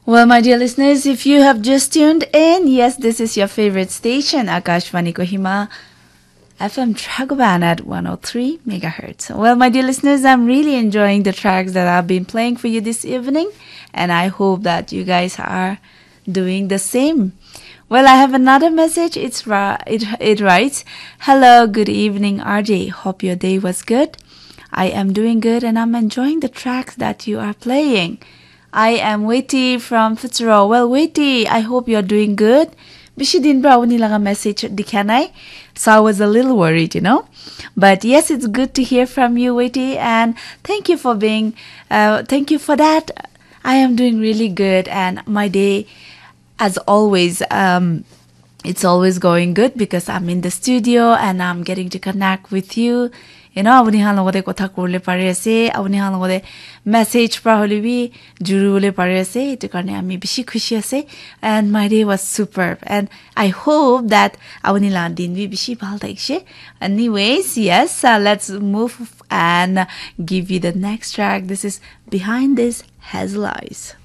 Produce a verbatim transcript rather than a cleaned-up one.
Well, my dear listeners, if you have just tuned in, yes, this is your favorite station, Akashvani Kohima, F M Dragoban at one oh three megahertz. Well, my dear listeners, I'm really enjoying the tracks that I've been playing for you this evening, and I hope that you guys are doing the same. Well, I have another message. It's ra- it it writes, "Hello, good evening, R J. Hope your day was good. I am doing good, and I'm enjoying the tracks that you are playing." I am Weti from Fitsuro. Well, Weti, I hope you're doing good. Bishi din pra apuni laga message dikha nai. So I was a little worried, you know. But yes, it's good to hear from you, Weti, and thank you for being, uh, thank you for that. I am doing really good, and my day, as always, um, it's always going good because I'm in the studio and I'm getting to connect with you. You know, apuni khan logote kotha kurle pari ase, apuni khan logote message pra hole bi juribole pari ase. Etu karne ami bishi khushi ase. And my day was superb. And I hope that apuni la din bi bishi bhal thakishe. Anyways, yes, uh, let's move and give you the next track. This is Behind This Hazel Eyes.